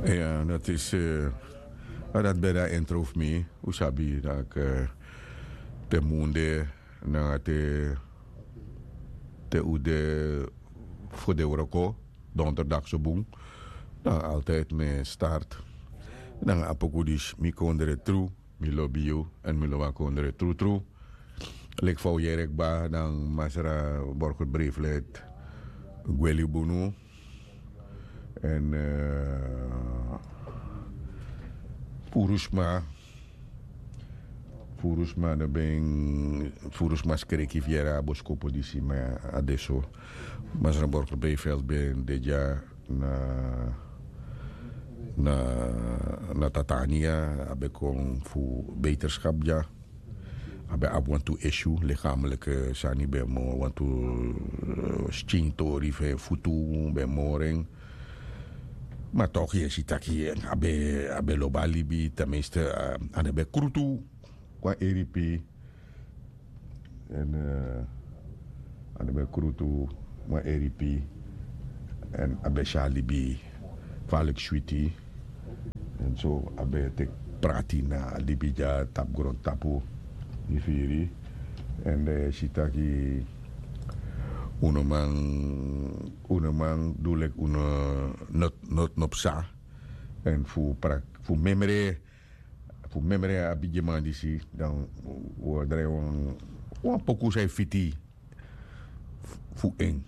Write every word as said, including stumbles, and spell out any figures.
Ya, dat is, eh, dat ben na intro fu mi. Un sabi dat, eh, te munde, na te, te un de fu de wroko, donderdag so bun. Dan altijd mi start. Dan a poku disi mi kondre tru, mi lobi yu, en mi lobi a kondre tru tru. Leki fa un yere kba, dan masra Borger Breeflet gwe libi unu. En, eh, furu sma, furu sma no ben, furu sma skreki fu yere a boskopu disi, ma a de so. Masra Borger Breeflet ben de dya na, na, na Tatania, a ben kon fu beterschap dya. A ben abi wantu issue, lichamelijke sani ben moro, wantu, eh, skintori fu en futu ben moro en. Ma toch yu e si taki, eh, a ben, a ben lobi a libi, tenminste, eh, a no ben krutu kon na A D P. En, eh, a no ben krutu kon na A D P. En a ben si a libi falek switi. En so a ben teki prati na a libi dya tapu grontapu. Yu firi. En, eh, si taki un no man, un no man du leki un no, no, no psa. En fu prak-, fu memre, fu memre a bigiman disi, dan un o drai wan, wan poku san e fiti fu en.